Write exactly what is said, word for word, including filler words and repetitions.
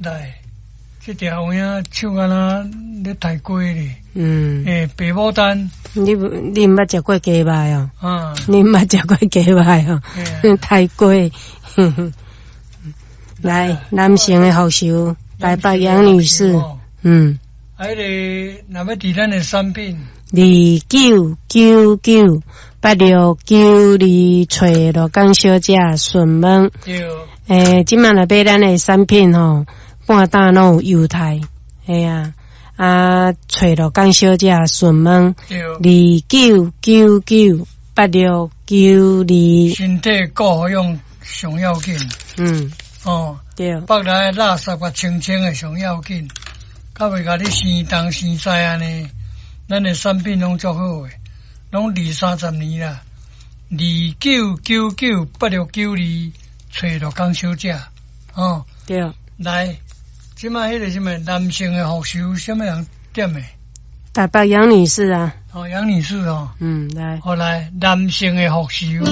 來，這條有影手敢若咧刣雞咧。嗯。欸，白牡丹。你你毋捌食過雞肉哦？啊。你毋捌食過雞肉哦？刣雞。來，男性的復仇，台北楊女士。嗯。啊，彼个若欲訂咱的產品，二九九九八六九二，揣羅江小姐詢問。對。欸，這擺若買咱的產品吼，半擔攏有優待，嘿啊，啊，揣羅江小姐詢問。對。二九九九八六九二。身體顧好養上要緊。嗯。哦。對。腹內垃圾共清清的上要緊。較袂共你生東生西按呢，咱的產品攏足好的，攏二三十年啦。二九九九八六九二，揣羅江小姐，哦。對。來，這擺彼個啥物男性的復仇，啥物人點的？台北楊女士啊。哦，楊女士哦。嗯，來。好來，男性的復仇。